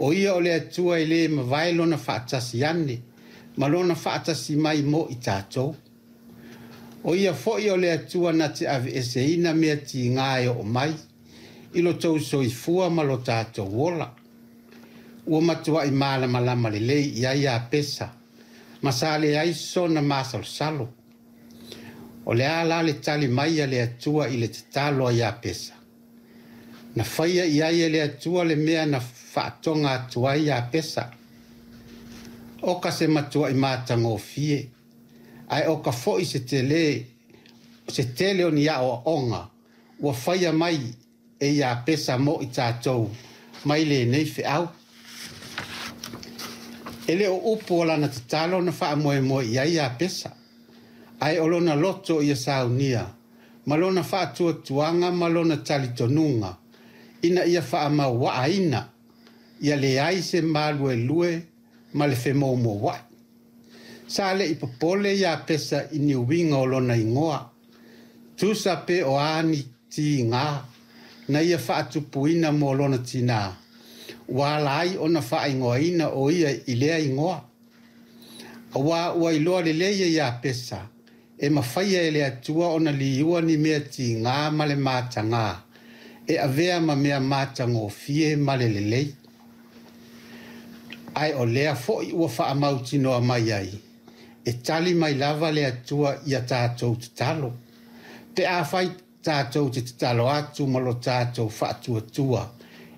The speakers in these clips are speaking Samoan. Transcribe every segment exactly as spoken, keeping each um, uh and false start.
O ia o le Atua e lē mavae lona faatasi ane ma lona faatasi mai mo i tatou. O ia foi o le Atua na te aveeseina mea tigā e oo mai i lo tou soifua ma lo tatou ola. Ua matuai malamalama lelei i ai Iapesa ma sa leai sona masalosalo. O le a la le tali mai a le Atua i le tatalo a Iapesa? Na faia i ai e le Atua le mea na faatoga atu ai Iapesa. O ka se matuai matagofie, ae o ka foi se tele, se tele o ni aoaoga ua faia mai e Iapesa mo i tatou mai lenei feau. E le o upu o lana tatalo na faamoemoe i ai Iapesa, ae o lona loto ia saunia, ma lona faatuatuaga ma lona talitonuga, ina ia faamauaaina, ia leai se maluelue ma le femoumouai. Sa le i popole Iapesa i ni uiga o lona igoa, tusa pe o a ni tigā na ia faatupuina mo lona tinā, ua ala ai ona faaigoaina o ia i lea igoa. Auā ua iloa lelei e Iapesa, e mafaia e le Atua ona liua ni mea tigā ma le matagā, e avea ma mea matagofie ma le lelei. Ae o lea foi ua faamautinoa mai ai, e tali mai lava le Atua ia tatou tatalo. Pe afai tatou te tatalo atu ma lo tatou faatuatua,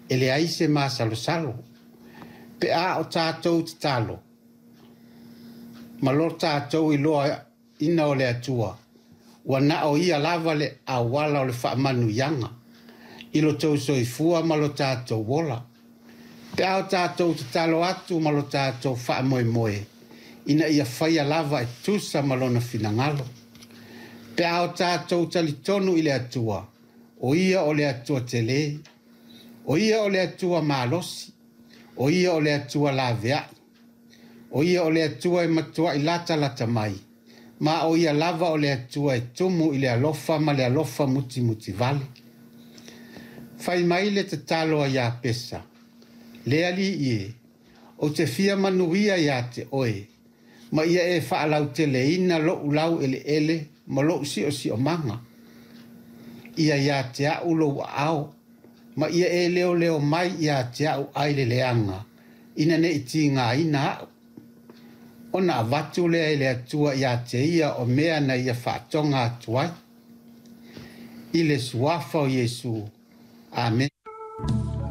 e leai se masalosalo. Pe a o tatou tatalo, ma lo tatou iloaina o le Atua, ua na o ia lava le auala o le faamanuiaga, i lo tou soifua ma lo tatou ola. Pe a o tatou tatalo atu ma lo tatou faamoemoe, ina ia faia lava e tusa ma lona finagalo. Pe a o tatou talitonu i le Atua, o ia o le Atua tele, o ia o le Atua malosi, o ia o le Atua laveai, o ia o le Atua e matuai latalata mai, ma o ia lava o le Atua e tumu i le alofa ma le alofa mutimutivale. Fai mai le tatalo a Iapesa, le Alii e, ou te fia manuia ia te oe, ma ia e faalauteleina lou laueleele ma lou siosiomaga. Ia ia te au lou aao, ma ia e leoleo mai ia te au ai le leaga, ina ne i tigaina au. Ona avatu lea e le Atua ia te ia o mea na ia faatoga atu ai. I le suafa o Iesu. Amene.